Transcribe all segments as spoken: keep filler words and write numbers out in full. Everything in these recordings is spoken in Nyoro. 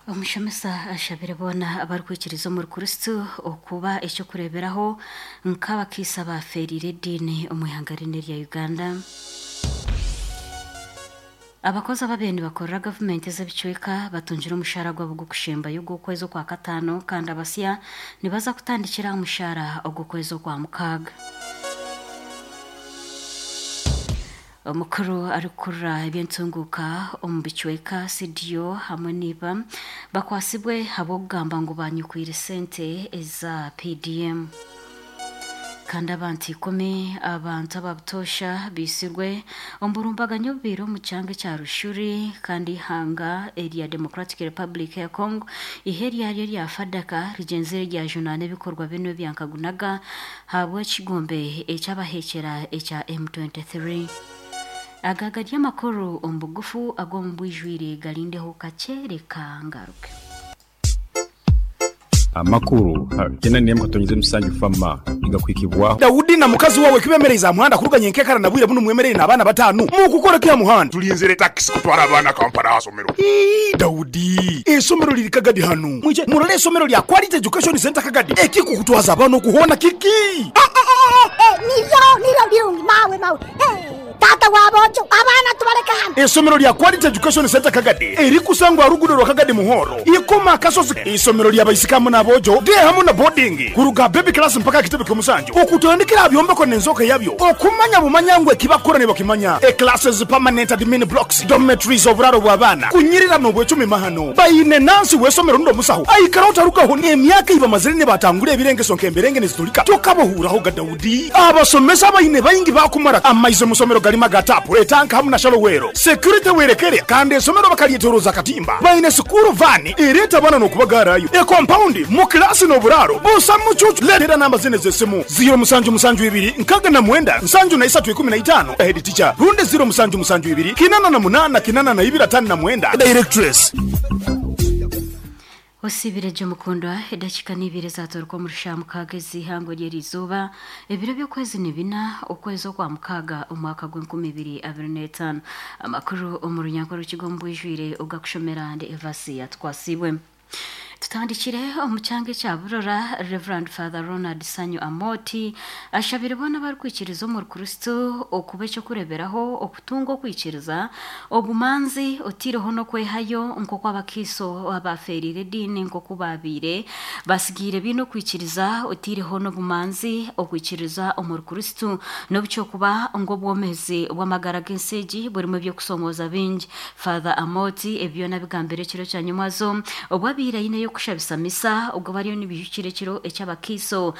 Omushomesa ashabire boona abarikwikiriza omuri Kristo okuba ekyokureeberaho nk'abakiisa bafeerire ediini omu ihanga rinu erya Uganda. Abakozi ababaire nibakorera gavumenti ez'ebicweka batungire omushaara gwabo gw'okushembayo ogw'okwezi okwa kataano, kandi abasya nibaza kutandikira aha mushaara ogw'okwezi okwa mukaaga. Omukuru arikukurira eby'entunguuka omu bicweka C D O hamwe n'iba bakwasibwe ahabw'okugamba ngu banyukwire sente eza P D M. Kandi abantu ikumi abantu ababutoosha biisirwe omu burumbaganyo obubaire omu kyanga ekya Rushuri, kandi ihanga erya Democratic Republic ya Congo ihe ryaryo rya Fadaka rigyenzire ryajunaana ebikorwa binu ebyankagunaga ahabw'ekigombe ekyabahekyera ekya M twenty-three. Aga gari amakuru omu bugufu ag'omu bwijwire garindeho kakyereka ngaruke. Amakuru kena nemu katonyize musanju fama igakwikibwa Daudi na mukazi wawe kibemereza muhanda kuruganya enkekara na bwire buno mwemerere n'abaana batanu mukukora kya muhanda tulinzire taxi kutwara abaana Kampala asomero. Ii Daudi esomero liri Kagadi hanu mwije murole esomero lya Quality Education Center Kagadi ekikukutwaza abana okuhona kiki. Eh, eh, eh, eh, niryo niryo birungi mawe mawe. Eh, tata wabojo abaana tubaleka hano. Esomero lya Quality Education Center Kagadi erikusangwa rugudo rwa Kagadi Muhoro ikoma kasozi. Isomero lya baisikamu n'abojo de hamwe na boarding kuruga baby class mpaka kitebe ky'omusanju okutandikira byombeko n'enzoka yabyo okumanya bumanyangwe kibakora ne bakimanya. E classes permanent admin blocks dormitories oburaro bw'abaana kunyirira n'obwecumi mahano bayine nansi w'esomero ndo musaho aikara otarugaho n'emyaka iba mazire ne batangura ebirengeso nk'emberenge nezitulika tokabohuraho ga Daudi. Abasomesa bayine bayingi bakumara amaize musomero galima gatapu etanka hamwe na shalowero security werekere kandi esomero bakalyetoroza katimba bayine sukuru vani ereta bana n'okubagarayo e compound mu klasi n'oburaro busa mucucu. Letera namba zine z'essimu zero musanju musanju ibiri nkaga na mwenda nsanju na isatu ikumi na itano head teacher runde zero musanju musanju ibiri kinana na munana kinana na ibiri atano na mwenda directress. Osibire Jomukundwa edakika n'ibiri zatorwa mu rushamu kagezi ihango ry'erizuba ebiro by'okwezi ni bina okwezi okwa mukaaga omwaka gw'enkumi ibiri abiri n'etaano. Amakuru omu runyanko rw'ikigo mbwijwire ogakushomera ndi Evasi yatwasibwe. Tutandikire omu kyanga ekya Burora. Reverend Father Ronald Sanyu Amoti ashabire boona abarikwikiriza omuri Kristo okuba ekyokureeberaho okutunga okwikiriza obumanzi otiireho n'okwehayo nk'oku abakiiso abafeerire ediini nk'oku baabaire basigiire biine okwikiriza otiireho n'obumanzi okwikiriza omuri Kristo n'obukyokuba ngu obwomeezi bw'amagara g'ensi egi burimu ebyokusomooza bingi. Father Amoti ebyo nabigambire ekiro kya nyumwazo obwabaire aineyo kushabisa misa ubwo bariyo nibihukire kiro ekyabakiso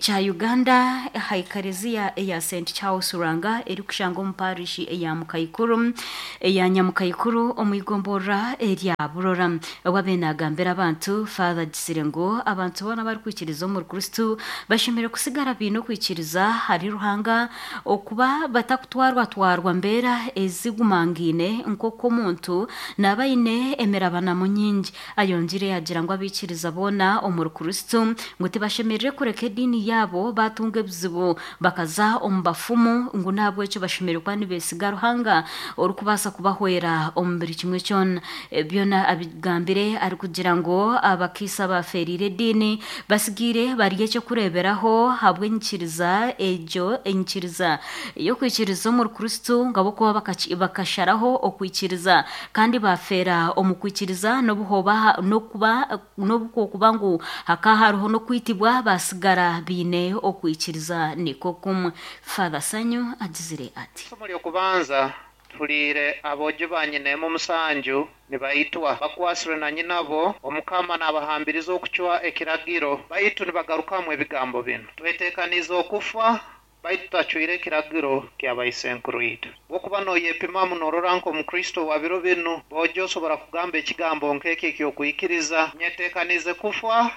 kya Uganda haikareziya eya Saint Charles Ruranga eri kushanga omu parish eya Mukaikuru eya Nyamukaikuru omwigomborra erya Burora. Obwabe nagambira abantu Father gisire ngo abantu bona barikwikiriza omuri Kristo bashemere kusigara biine okwikiriza hari Ruhanga okuba batakutwarwa twarwa mbeera ezigumangiine nk'oku omuntu nabaine emirabanamu nyingi. Ayongire yagira ngo abikiriza bona omuri Kristo ngu tibashemerere kureka ediini yabo batunga ebizibu bakaza omu bafumu ngu nabwekyo bashemerere kuba nibesiga Ruhanga orikubaasa kubahwera omu buri kimwe kyona. Byona abigambire arikugira ngu abakiisa bafeerire ediini basigiire bari ekyokureeberaho ahabw'enyikiriza egyo enyikiriza y'okwikiriza omuri Kristo ngabo kuba bakasharaho okwikiriza kandi bafeera omu kwikiriza n'obuhoba n'okuba n'obukokuba ngu hakahariho n'okwitibwa basigara biine okwikiriza niko kumwe. Father Sanyu agizire ati isomo ly'okubanza tuliire abojo ba nyinemu musanju nibaitwa bakwasirwe na nyinabo omukama n'abahambiriza okucwa ekiragiro baitu nibagarukamu ebigambo bino twetekaniza okufa baitu tutacwire ekiragiro ky'abaisenkuru itwe. Bwokuba noyepimamu norora nk'omukristo wa biro binu bojo osobora kugamba ekigambo nk'eki ekyokwikiriza nyetekanize kufa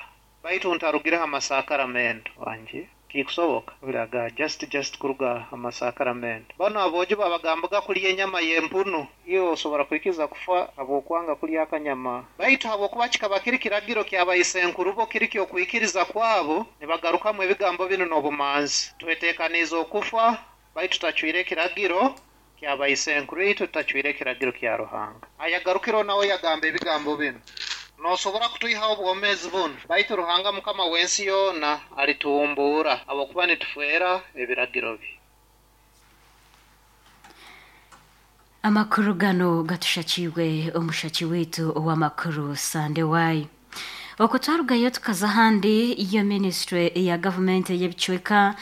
baitu ntarugireho amasakaramento wanje kikusoboka ulaga just just kuruga amasakaramento bano abojo babagambaga kulya enyama y'empunu iyo osobora kwikiza kufa abwokwanga kulya akanyama baitu habwokuba kikaba kiri kiragiro ky'abaisenkuru bo kiri kyokwikiriza kwabo nibagarukamu ebigambo bino n'obumanzi twetekaniza okufa baitu tutacwire ekiragiro ky'abaisenkuru itwe tutacwire ekiragiro kya Ruhanga. Ayagarukiro nawe yagamba ebigambo bino Nosobora kutwihaho obwomeezi bunu, baitu Ruhanga Mukama w'ensi yoona alituhumbuura habwokuba nitufeera ebiragiro bye. Amakuru gano gatushakiwe omushaki witu ow'amakuru Sande Wai. Okutwarugayo tukaza ahandi iyo ministry ya gavumenti y'ebicweka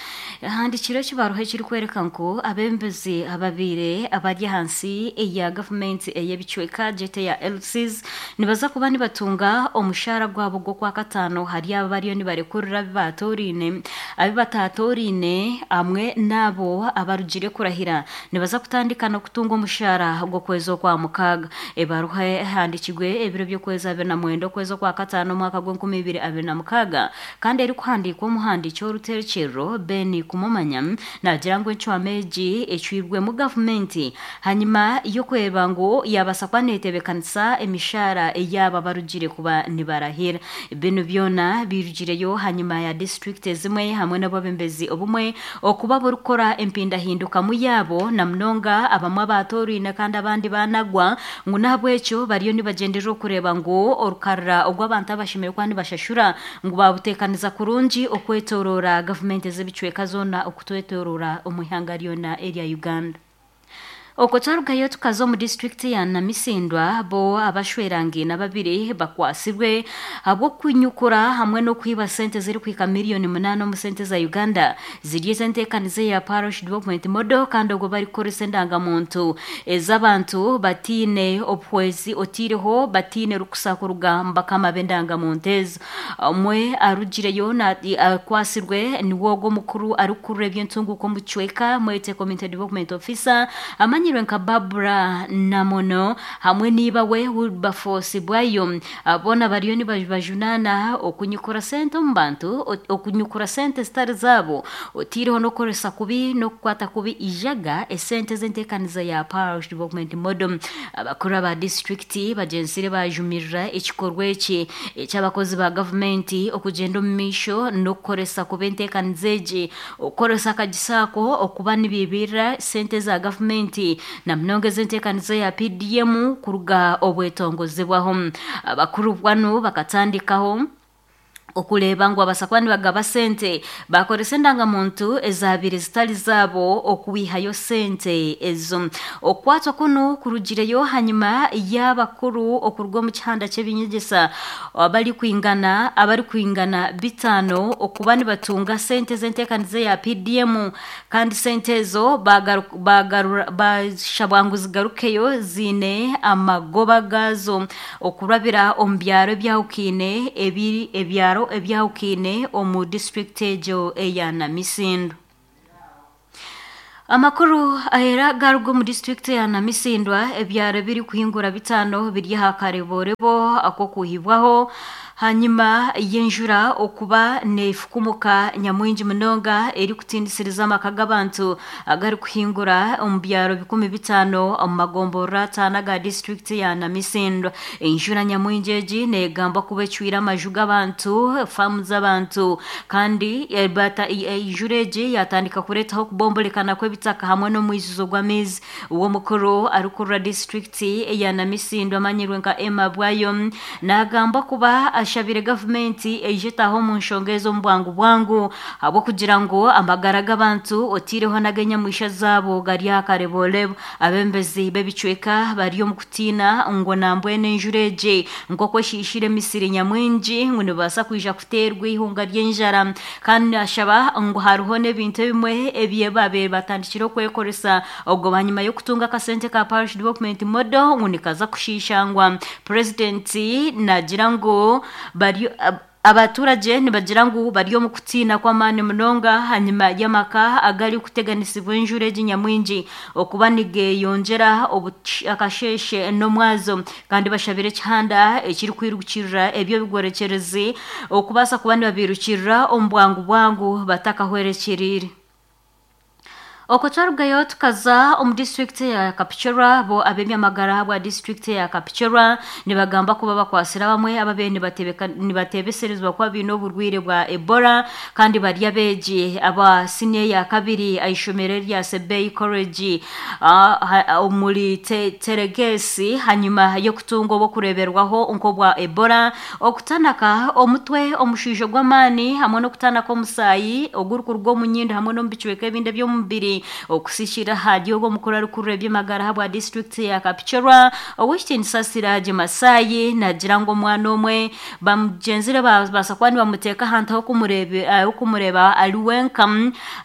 handikiro ekibaruha ekirikwereka ngu abembezi ababiire abari ahansi eya gavumenti ey'ebicweka jete ya L Cs nibaza kuba nibatunga omushahara gwabo gw'okwa kataano hari abo bariyo nibarekurira abi baatorine abi bataatorine hamwe n'abo abarugire kurahira nibaza kutandika n'okutunga omushahara gw'okwezi okwa mukaaga. Ebaruha ehandikirwe ebiro by'okwezi abiri na mwenda okwezi okwa kataano omwaka gw'enkumi ibiri abiri na mukaaga kandi erikuhandiikwa omuhandiiki w'oruterekyerero Ben Kumumanya nagira ngu encwama egi ecwirwemu gavumenti hanyuma y'okureba ngu yabaasa kuba neetebeekanisa emishahara ey'abo abarugire kuba nibarahira. Binu byona birugireyo hanyuma ya disitulikiti ezimwe hamwe n'obwebembezi obumwe okuba burikukora empindahindukamu yaabo na munonga abamwe abaatoorine kandi abandi banagwa ngu n'ahabw'ekyo bariyo nibagyenderera okureba ngu orukarira ogw'abantu abashemereire kuba nibashashura ngu babuteekaniza kurungi okwetorora gavumenti ez'ebicweka zoona okutwetorora omu ihanga ryona erya Uganda. Okwo twarugayo tukaza omu disitulikiti ya Namisindwa bo abashwerangiina babiri bakwasibwe ahabw'okunyukura hamwe n'okwiba sente zirikuhika miliyoni munaana omu sente za Uganda ziri ez'enteekaniza ya Parish Development Model kandi obwo barikukoresa endangamuntu ez'abantu batiine obuhwezi otiireho batiine rukusa kuruga mu bakama b'endangamuntu ezo. Omwe arugireyo akwasirwe niwe ogwo omukuru arikukurura eby'entunguka omu kicweka mwete Community Development Officer amanyirwe nka Barbara Namono hamwe niba we Wilberforce Bwayo. Bona bariyo nibajunana okunyukura sente omu bantu okunyukura sente zitari zaabo otiireho n'okukoresa kubi n'okukwata kubi ijaga esente z'enteekaniza ya Parish Development Model. Abakuru aba disitulikiti bagyenzire bajumirira ekikorwa eki eky'abakozi ba gavumenti okugyenda omu maisho n'okukoresa kubi enteekaniza egi okukoresa akagisa ako okuba nibiibirira sente za gavumenti na munonga ez'enteekaniza ya P D M kuruga obwetongozebwaho. Abakuru bwanu bakatandikaho okureeba ngu abaasa kuba nibagaba sente bakoresa endangamuntu ezaabire zitari zaabo okwihayo sente ezo. Okukwatwa kunu kurugireyo hanyuma y'abakuru okuruga omu kihanda ky'ebinyegyesa abarikwingana abarikwingana bitaano okuba nibatunga sente z'enteekaniza ya P D M kandi sente ezo bashabwa ngu zigarukeyo ziine amagoba gaazo okurabira omu byaro ebyahukiine ebiri ebyaro ebyahukine omu disitulikiti egyo eya Namisindwa. Amakuru ahera garuga omu disitulikiti ya Namisindwa ebyaro ebirikuhingura bitaano biri aha kareborebo ak'okuhibwaho hanyuma y'enjura okuba neefukumuka nyamwingi munonga erikutindisiriza amaka g'abantu agarikuhingura omu byaro bikumi bitaano omu magomborora ataano aga disitulikiti ya Namisindwa. Enjura nyamwingi egi neegambwa kuba ecwire amaju g'abantu, faamu z'abantu kandi enjura egi yatandika kureetaho okubombolekana kw'ebitaka hamwe n'omwijuzo gw'amaizi. Uwomukuru arikurura disitulikiti eya Namisindwa amanyirwe nka Emma Bwayo naagamba kuba ashabire gavumenti eije etaho omu nshonga ezo omu bwangu bwangu ahabw'okugira ngu amagara g'abantu otiireho n'ag'enyamwisha zaabo gari aha kareborebo. Abembezi b'ebicweka bari omu kutiina ngu nambwenu enjura egi nk'oku eshiishire emisiri nyamwingi ngu nibaasa kwija kuteerwa eihunga ry'enjara kandi ashaba ngu hariho n'ebintu ebimwe ebi babaire batandikire okwekoresa obwo hanyuma y'okutunga akasente ka Parish Development Model ngu nikaza kushiishangwa. Purezidenti nagira ngu bari abaturage nibagira ngu bari omu kutiina kw'amaani munonga hanyuma y'amaka agari kuteganisibwa enjura egi nyamwingi okuba nigeyongyera akasheshe n'omwazo kandi bashabire ekihanda ekirikwirukirira ebyo bigwerekyerezi okubaasa kuba nibabirukirira omu bwangu bwangu batakahwerekyerire. Okwo twarugayo tukaza omu district ya Kapchorwa. Bo ab'ebyamagara bwa district ya Kapchorwa nibagamba kuba bakwasira bamwe ababe nibatebeka nibatebeserezwa kuba biine oburwire bwa Ebola, kandi bari abeegi aba senior ya kabiri aishomero rya Sebei College omuri Teregesi, hanyuma y'okutunga obwokureberwaho nk'obwa Ebola, okutanaka omutwe, omushiijo gw'amaani hamwe n'okutanaka omusaayi ogurikuruga omu nyindo hamwe n'omu bicweka ebindi eby'omubiri. Okusishira hadi ogwo mukuru arikurura eby'amagara bwa district ya Kapchorwa, Owekitiinisa Siraje Masai, nagira ngu omwana omwe bamugenzire babaasa kuba nibamuteeka ahantu ah'okumureba ari wenka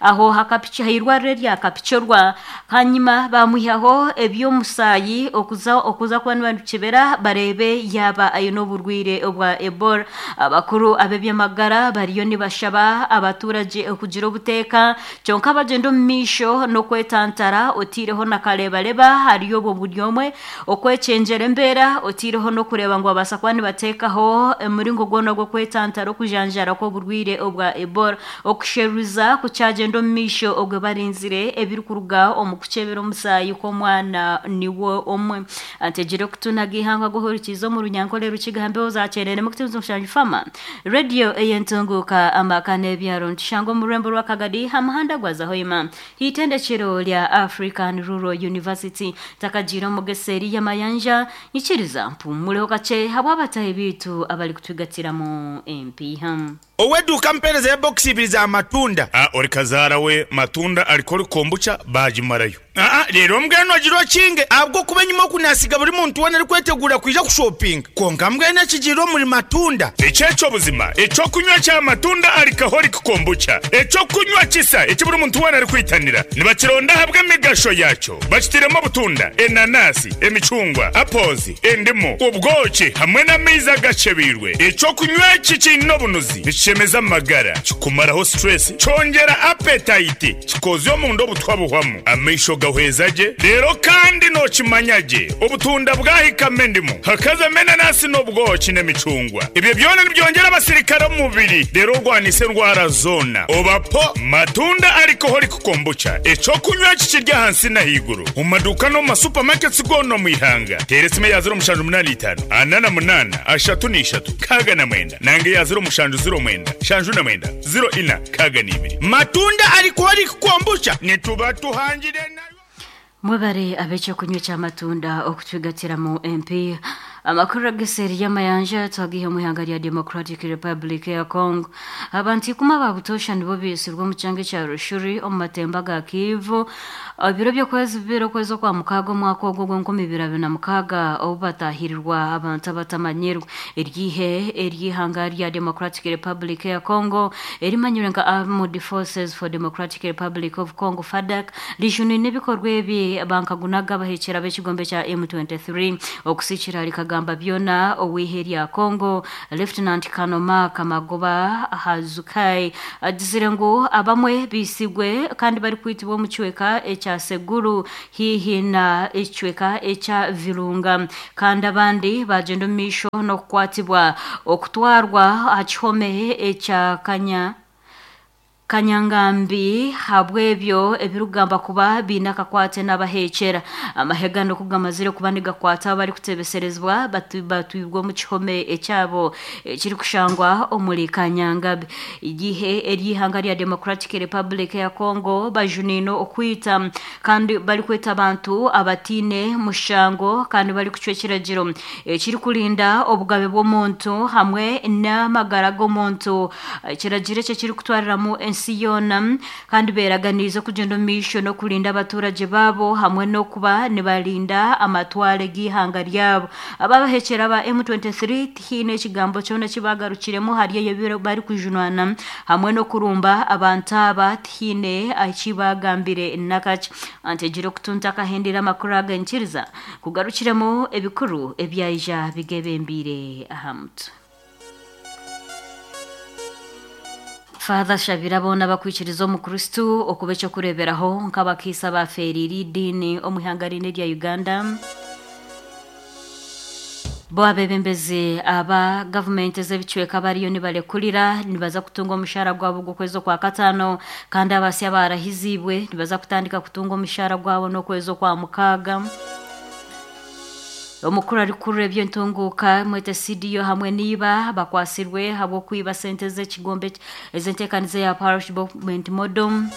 aho hairwariro rya Kapchorwa, hanyuma bamwihaho eby'omusaayi okuza okuza kuba nibakibera barebe yaba aine oburwire obwa Ebola. Abakuru ab'eby'amagara bariyo nibashaba abaturage okugira obuteeka, kyonka bagyenda omu maisho n'okwetantara otiireho na karebareba hariyo obwo buri omwe okwekyengyera embeera, otiireho n'okureeba ngu babaasa kuba nibateekaho omuringo gwona ogw'okwetantara okujanjara kw'oburwire obwa Ebola. Okusheruza kukyagenda omu maisho ogwe barinzire ebirikuruga omu kukyebera omusaayi kw'omwana niwo omwe. Antegire okutunaga ihanga guhurikiza omu runyankole rukigambeho zakyerere mukutunza omushanju fama radio eyentunguka amaka n'ebyaro ntushanga omu rurembo rwa Kagadi ha muhanda gwa Zahoima itendekero lya African Rural University. Takagira omugeseri y'amayanja nyikiriza mpumuleho kakye habw'abatahi biitu abari kutugatiramu empiiha. Oweduka mpereza ya box ibiri za matunda. Ah, ori kazaara we matunda alikori kombucha bagimarayo. Ah, rero mbwenu agirwa kinge abwo kuba nyuma okunasiga buri muntu wena ari kwetegura kwija kushopping. Konka mbwenu ekigiro muri matunda. Ekyekyo buzima ekyokunywa kya matunda alikahori kombucha. Ekyokunywa kisa ekiburi muntu wena ari kwitanira. Nibakironda habwe emigasho yakyo. Bakitiremo obutunda, enanasi, emicungwa, apples, endimu, ubwoki hamwe n'amaizi agacebirwe. Ekyokunywa eki kiine obunuzi nikishemeza amagara, kikumaraho stress, kyongera appetite, kikozya omunda obutwa buhwamu, amaisho gahweza gye. Rero kandi nokimanya gye obutunda bwahikamo endimu, hakazamo enanasi n'obwoki n'emicungwa. Ibyo byona nibyongera abasirikare omu mubiri, rero orwanisa endwara zona. Obapo matunda alcoholic kombucha, ekyokunywa kikirya ahansi n'ahaiguru mu maduuka no mu masupamaketi goona omu ihanga. Teera esimu ya ziro mushanju munani itaano ana na munaana ashatu n'ishatu kaaga na mwenda, nange ya ziro mushanju ziro mwenda shanju na mwenda ziro ina kaaga n'ibiri. Matunda alcoholic kombucha nituba tuhangire nayo. Mwebare ab'ekyokunywa ky'amatunda okutugatiramu empiiha. Amakuru ageseri y'amayanja twagiha mu ihanga rya Democratic Republic ya Congo. Abantu ikumi ababutosha nibo bisirwe omu kyanga kya Rushuri omu matemba ga Kivu ebiro by'okwezi bibiri okwezi okwa mukaaga omwaka ogwo gw'enkumi ibiri abiri na mukaaga, obu batahirirwa abantu abatamanyirwe. Eryihe ery'ihanga rya Democratic Republic ya Congo erimanyirwe nka Armed Forces for Democratic Republic of Congo FADC rijunine ebikorwa ebi bankagunaga bahekyera b'ekigombe kya M twenty-three. Okusikira rikagamba byona owihe rya Congo Lieutenant Kanoma Kamagoba Hazukai agizire ngu abamwe bisigwe kandi bari kwitibwa omu kicweka ekya Seguru hihi na ekicweka ekya Virunga, kandi abandi bagenda omu maisho n'okukwatibwa okutwarwa aha kihome ekya Kanya Kanyangambi habwebyo ebirugamba kuba biine akakwate n'abahekyera. Amahegano kugamazire kuba nigakwata abari kutebeserezibwa batwibwa omu kihome ekyabo ekiri kushangwa omuri Kanyangabi. Igihe ery'ihanga rya Democratic Republic ya Congo bajunino okwita kandi bari kweta abantu abatine mushango kandi bari kucwa ekiragiro ekiri kurinda obugabe bw'omuntu hamwe n'amagara g'omuntu. Ekiragiro ekyo kiri kutwariramu ensi yona, kandi beraganiza okugenda omu maisho n'okurinda abaturage babo hamwe n'okuba nibarinda amatware g'ihanga ryabo. Ababahekyera ba M twenty-three tihiine ekigambo kyona kibagarukiremu hari eyo bari kujunwana hamwe n'okurumba abantu aba tihiine ekibagambire nakakye. Antegire okutunta akahendera amakuru aga nkiriza kugarukiremu ebikuru ebyaija bigebembire aha mutwe. Father Shabira bona bakwikiriza omukristu okuba ekyokureberaho nk'abakiisa baferire idini omu ihanga rine rya Uganda. Bo abebembezi aba gavumenti ez'ebicweka bariyo nibarekurira nibaza kutunga omushahara gwabo gw'okwezi okwa kataano, kandi abasya barahizibwe nibaza kutandika kutunga omushahara gwabo n'okwezi okwa mukaaga. Omukuru arikurura eby'entunguuka mwete C D O hamwe niba bakwasirwe habw'okwiba sente z'ekigombe ez'enteekaniza ya Parish Development Model.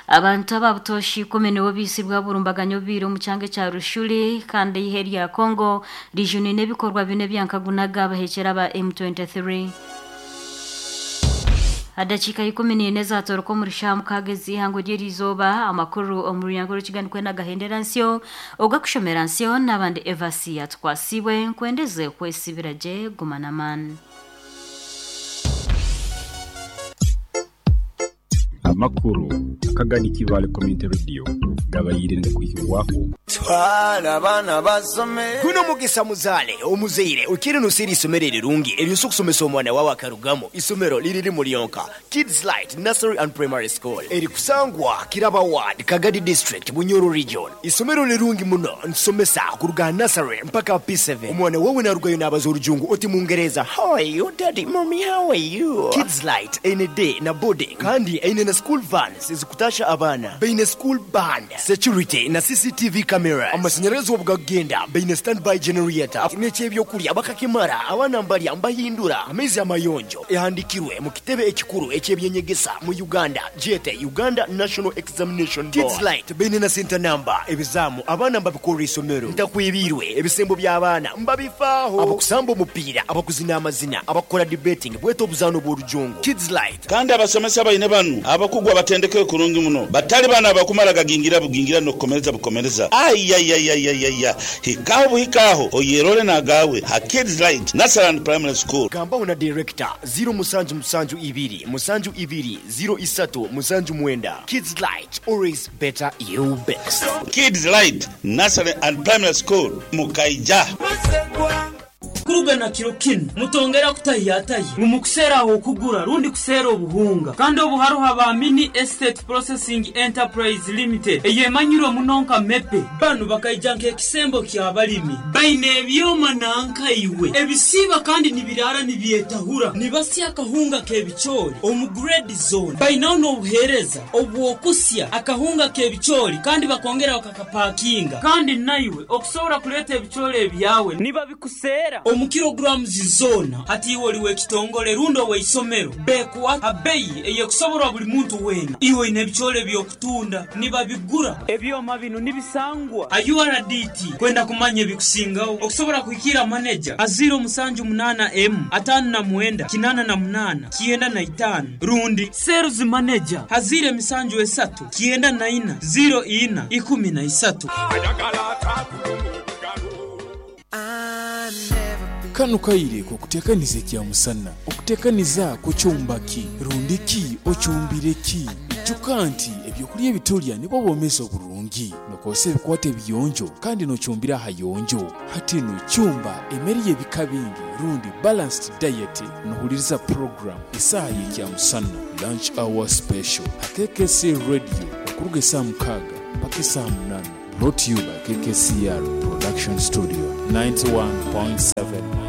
Abantu ababutoshi ikumi nibo bisibwa burumbaganyo bibiri omu kyanga kya Rushuri, kandi ihe rya Congo rijuni n'ebikorwa bine byankagunaga abahekera ba M twenty-three. Adakika ikumi n'ine zatoroka omu rushaha mukaaga ez'ihango ry'erizooba. Amakuru omu runyango rw'ekiganiro nagahendera nsyo ogakushomera nsyo n'abandi Evasi yatukwasibwe nkwendeze kwesibira gye guma n'amaani. Amakuru akagani Kibale Community Radio gabayire ndakwihirwaho. Twala abaana basome. Guno mugisa muzaale omuzaire okiri nusiri isomero erirungi eryosa okusomesa omwana wawe akarugamo. Isomero liriri mulyonka Kids Light Nursery and Primary School erikusangwa Kiraba Ward, Kagadi District, Bunyoro Region. Isomero lirungi muno nsomesa kuruga nursery mpaka P seven. Omwana wawe narugayo n'abaza orujungu oti mungereza, how are you daddy, mommy, how are you? Kids Light ene day na boarding kandi ene na school vans ezikutasha abaana, baine school band, security na C C T V cameras, amashanyarazi obugagenda, baine standby generator n'ekyebyokurya bakakimara abaana mbalya mbahindura amaizi amayonjo. Ehandikirwe mu kitebe ekikuru ekyebyenyegesa mu Uganda jete Uganda National Examination Board. Kids Light baine na center number ebizamu abaana mbabikora isomero ntakwibirwe ebisembo by'abaana mbabifaaho, abakusamba omupiira, abakuzina amazina, abakora debating bweta obuzaano bw'orujungu. Kids Light kandi abasomesa baine banu abakugwa batendeke kurungi muno batali bana abakumara gagingira bugingira nokukomereza bukomereza ayayayayaya hikaho buhikaho oyerole nagawe ha Kids Light Nursery and Primary School. Gambaho na director zero musanju musanju ibiri musanju ibiri zero isatu musanju mwenda. Kids Light, always better you best. Kids Light Nursery and Primary School Mukaija. Kuruga na kiro kinu mutongera kutahiyatayi mumukusera aho kugura rundi kusera obuhunga kandi obuharuha ba Mini Estate Processing Enterprise Limited eyemanyirwe munonka mepe banu bakaija nk'ekisembo ky'abalimi baine ebyoma nanka iwe ebisiba kandi nibirara nibyetahura nibasya akahunga k'ebicoori omu grade zone bainaho n'obuheereza obwokusya akahunga k'ebicoori kandi bakongera bakakapakinga kandi naiwe okusobora kuleeta ebicoori ebyawe nibabikusera omu kilograms zona hati iwe oliwe ekitongole rundo weisomero bekuwa abeyi eyekusoborwa buli muntu wena iwe ine ebicoori ebyokutunda nibabigura ebyoma bino nibisangwa a U R D T kwenda kumanya ebikusingaho okusobora kuhikira manager aziro musanju munana m atano na mwenda kinana na munana kienda na itano rundi sales manager hazire misanju esatu kienda na ina zero ina ikumi na isatu. Kano kaire kukutekaniza ekya musana okutekaniza kucyumbaki rundiki ocyumbireki ijuka nti ebyokulya ebitulya nibwo bwomeza oburungi nokose ebikwate ebiyonjo kandi nocyumbira ahayonjo hati nocyumba emeri y'ebika bingi rundi balanced diet nohuliriza program isaha y'ekya musana lunch hour special K K C radio okuruga esaa mukaaga mpaka esaa munana. Brought to you by K K C R Production Studio ninety-one point seven.